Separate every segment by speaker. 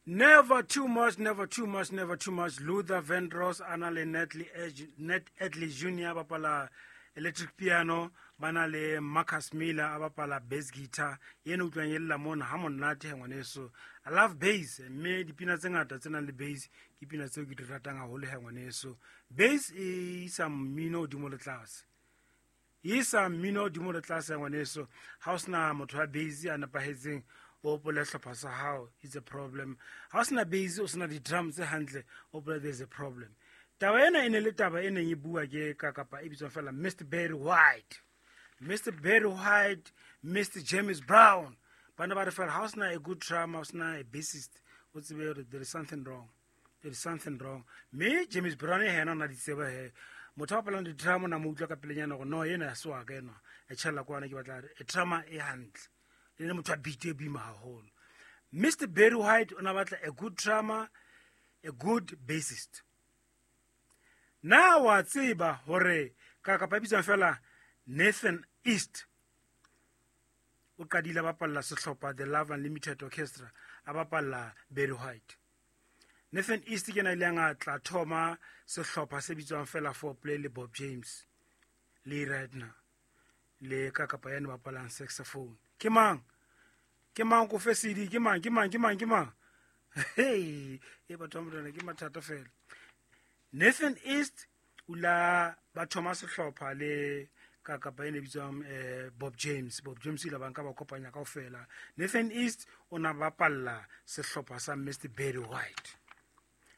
Speaker 1: Never too much, never too much, never too much. Luther Vandross a na le Nat Adley Jr. a bapala electric piano, ba na le Marcus Miller a bapala bass guitar. Yena utlwang e lla mona ha monate he ngwaneso. I love bass, mme dipina tse ngata tse nang le bass ke pina tseo ke di ratang haholo he ngwaneso. Bass e isa mmino hodimo le tlase. Isa mmino hodimo le tlase ya ngwaneso. Ha o sena motho wa bass a nepahetseng, o hopole hlopha sa hao, it's a problem. Ha o sena bass, o sena di-drum tse hantle, o hopole there's a problem. Taba ena e ne le taba e neng e bua ke ka kapa e bitswang fela Mr Barry White. Mr Barry White, Mr James Brown, ba ne ba re fela ha o sena a good drummer, o sena a bassist, o tsebe hore there is something wrong. There is something wrong. Mme James Brown yena o na di tseba he. Motho a bapalang di-drum o na mo utlwa ka pelenyana gore no ena ya se wa ka enwa. E tjhella kwana ke batla e drummer e hantle. E le motho wa beat e boima haholo. Mr Barry White o na batla a good drummer, a good bassist. Na wa tseba hore ka kapa bitswang fela Nathan East o qadile a bapalla sehlopha The Love Unlimited Orchestra, a bapalla Barry White. Nathan East ke na ileng a tla thoma sehlopha se bitswang fela Four Play le Bob James le Radner le ka kapa yane bapalang saxophone. Ke mang? Ke mang ko fe CD? Ke mang? Ke mang? Ke mang? Ke mang? Hey, e batho ba morena ke mathata fela. Nathan East o la ba thoma sehlopha le ka kapa ene bitswang Bob James. Bob James ile ba nka ba kopanya kaofela. Nathan East o na bapalla sehlopha sa Mr Barry White.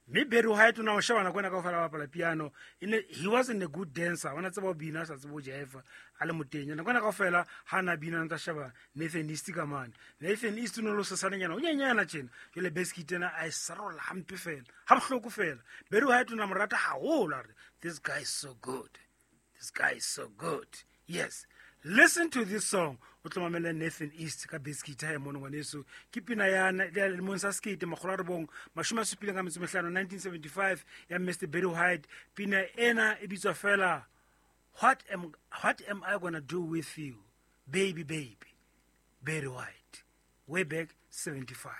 Speaker 1: Mme Barry White o na o sheba nako ena kaofela ba bapala piano. He wasn't a good dancer. O na tseba ho bina, a sa tsebe ho jive, a le motenya. Nako ena kaofela ha na bina ntsa sheba Nathan East ka mane. Nathan East o ne le sesanenyana, o nyenyana tjena. Jwale bass guitar ena a e sarolla hampe fela, ha bohloko fela. Barry White o na mo rata haholo, a re, this guy is so good. This guy is so good. Yes. Listen to this song. O tlo mamela Nathan East ka bass guitar ya mono ngwaneso. Ke pina ya ya lemong sa sekete makgolo a robong, mashome a supileng ka metso mehlano, 1975 ya Mr Barry White. Pina ena e bitswa fela What am I going to do with you, baby, baby? Barry White, way back 75.